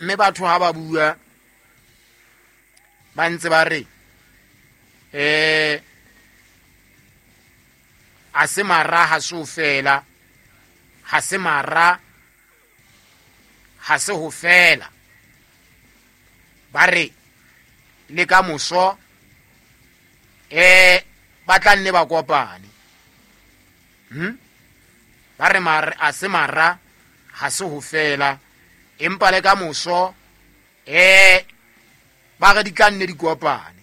Mme batho ha ba bua ba ntse ba re a se mara ha se ho fela, ha se mara ha se ho fela. Ba re le ka moso ba tla nne ba kopane. Ba re a se mara ha se ho fela, empa le ka moso ba re di tla nne di kopane.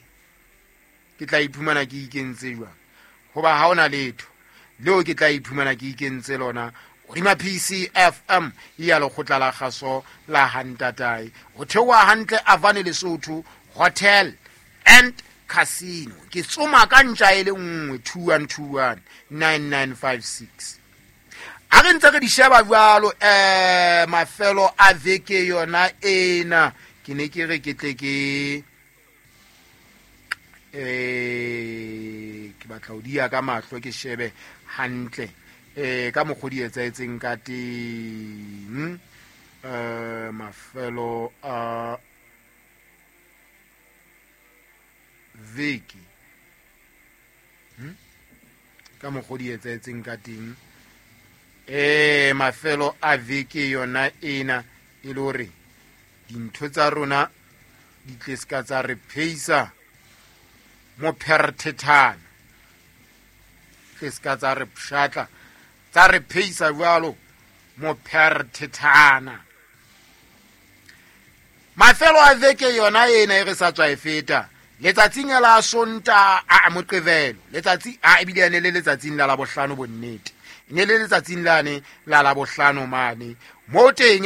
Ke tla iphumana ke ikentse jwang? Hoba ha hona letho leo ke tla iphumana ke ikentse lona hodima PCFM ya lekgotla la kgaso la Hantatae. Ho theoha hantle Avane Lesotho Hotel and Casino. Ke tsoma ka ntja e le nngwe, 2121 9956. A re ntse re di sheba jwalo, mafelo a veke yona ena. Ke ne ke re ke tle ke ke batla ho diya ka mahlo ke shebe hantle ka mokgwa di etsahetseng ka teng. Mafelo a veke. Ka mokgwa di etsahetseng ka teng. Mafelo a veke yona ena e le hore dintho tsa rona di tle se ka tsa re pheisa mopherthethana, tle se ka tsa re pshatla tsa re pheisa jwalo mopherthethana. Mafelo a veke yona ena e re sa tswa e feta, letsatsing la Sonta a Moqebelo, letsatsi a ebile ene le letsatsing la Labohlano, bonnete ne le letsatsing lane la Labohlano mane mo teng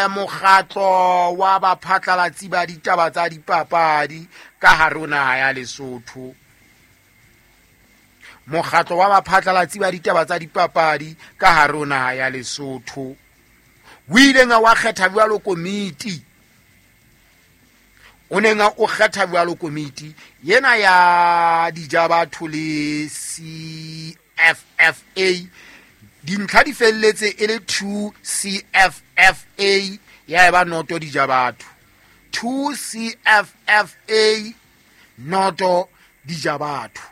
mokgatlo wa baphatlalatsi ba ditaba tsa dipapadi ka hare ho naha ya Lesotho. Mokgatlo wa baphatlalatsi ba ditaba tsa dipapadi ka hare ho naha ya Lesotho o ileng wa kgetha jwalo komiti, o neng o kgetha jwalo komiti yena ya Dijabatho le CFFA. Dintlha di felletse e le 2 CFFA ya eba noto Dijabatho, 2 CFFA noto Dijabatho.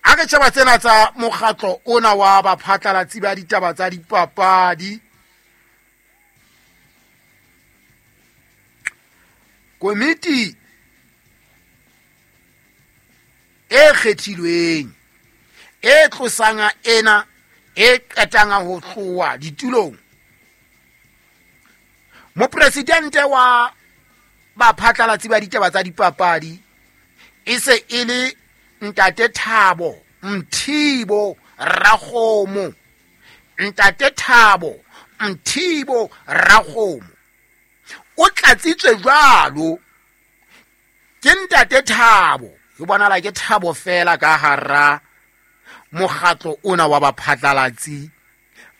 A re tjhaba tsena tsa mokgatlo ona wa baphatlalatsi ba ditaba tsa dipapadi. Komiti e kgethilweng e tlosang ena e qetang ho tloha ditulong, mopresidente wa baphatlalatsi ba ditaba tsa dipapadi e se e le Ntate Thabo Mthibo Rakgomo. Ntate Thabo Mthibo Rakgomo o tlatsitswe jwalo ke Ntate Thabo. E bonala ke Thabo fela ka hara mokgatlo ona wa baphatlalatsi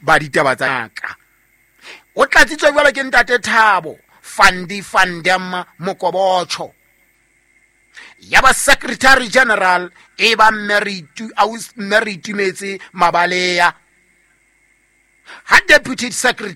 ba ditaba tsa ka. O tlatsitswe jwalo ke Ntate Thabo Fandi Fandem Mokobotjho. Ya ba Secretary General e ba Mary Tumetse Mabalea. Ha Deputy Secretary